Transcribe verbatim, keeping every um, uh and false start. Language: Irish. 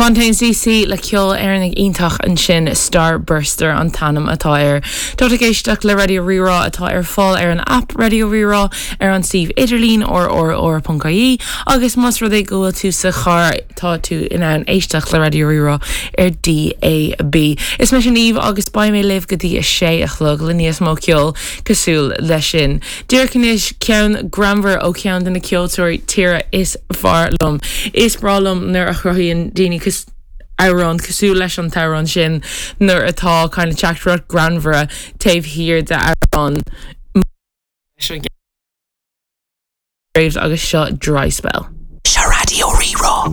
Fontaines DC le ceol Éireannach iontach ansin Starburster an t-ainm atá air. Tá ag éisteacht le Raidió Rí-Rá atá ar fáil ar an app Raidió Rí-Rá ar an suíomh idirlín rrr.ie agus más rud é go bhfuil tú sa charr tá tú in ann éisteacht le Raidió Rí-Rá ar DAB. Is mise Niamh agus beidh mé libh go dtí a sé a chlog le níos mó ceol cosúil leis sin. Díreach anois ceann greannmhar ó cheann de na ceoltóirí tíre is fearr liom. Is breá liom nuair a chruthaíonn daoine amhrán cosúil leis an t-amhrán sin nuair atá kind of teachtaireacht greannmhar taobh thiar de amhrán agus seo dry spell. Seo Raidió Rí-Rá.